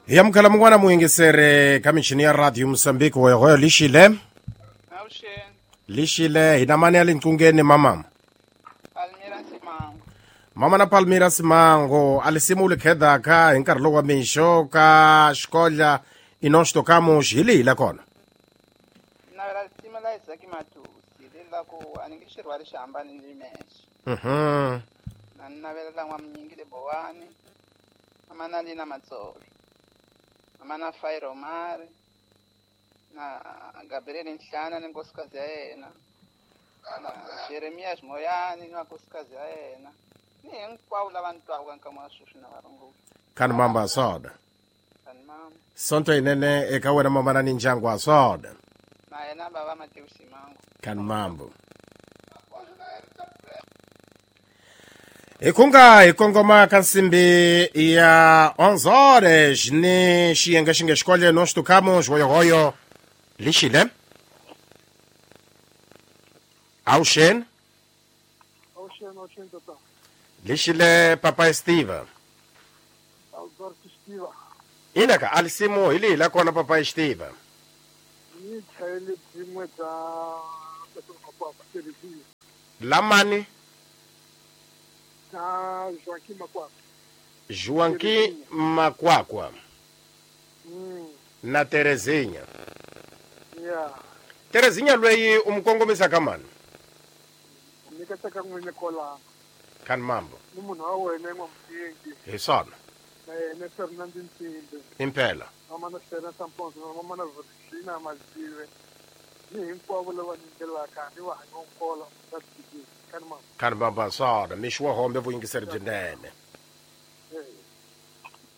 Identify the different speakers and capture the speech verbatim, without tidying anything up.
Speaker 1: Hi amukela mun'wana muyingiseri ka michini ya radio Mosambiki hoyohoyo lixile.
Speaker 2: Avuxeni.
Speaker 1: Lixile hi na mani ya le nqungeni mama?
Speaker 2: Palmira Simango.
Speaker 1: Mama na Palmira Simango a lisimu li khedaka hi nkarhi lowu wa mixo ka xikodla i nós tocamos hi lihi la kona?
Speaker 2: Navela risimu la Isaac Matusi leri la ku a ni nge xi rhwali xi hambani ni mexe.
Speaker 1: Mhm.
Speaker 2: Na ni navela la n'wamunyingi le Bowani, mama na Lina Matsolo, mama na Fai Romari, na Gabriel Nhlana ni nkosikazi ya yena, na Jeremias Moyani ni nkosikazi ya yena, ni hinkwavo lava ni twaka nkama wa sweswi na varungula.
Speaker 1: Kani mamba soda.
Speaker 2: Kani mama.
Speaker 1: Sonto yinene eka wena mama na ni ndyangu wa soda.
Speaker 2: Na yena baba Matewu Simango.
Speaker 1: Kani mambo. Hi kunga hi kongoma ka nsimbi ya onze horas ni xiyenge xi nge xikolweni nós tocamos hoyohoyo lixile. Avuxeni.
Speaker 3: Avuxeni, avuxeni tata.
Speaker 1: Lixile papa Steve.
Speaker 3: Alberto Steve.
Speaker 1: Ina ka alisimu hi lihi la kona papa Steve?
Speaker 3: Ni chayele byin'we bya Makwakwa Terezinha.
Speaker 1: Lamani?
Speaker 3: Na Joaquim Makwakwa.
Speaker 1: Joaquim Makwakwa.
Speaker 3: Mm.
Speaker 1: Na Terezinha.
Speaker 3: Yeah.
Speaker 1: Terezinha lweyi u mu kongomisa ka mani?
Speaker 3: Ni ka tsaka n'wini kwalano.
Speaker 1: Kani mambo.
Speaker 3: Ni munhu wa wena n'wamunyingi.
Speaker 1: Hi swona.
Speaker 3: Na yena Fernand Nsimbe.
Speaker 1: Impela.
Speaker 3: Mama na Serena Samponso, mama na Virginia Mazive. Ni hinkwavo lava nyingelaka ni va hanyokola va tshikile. Kani mambo.
Speaker 1: Kani mambo swona mixo wa hombe vuyingiseri byinene.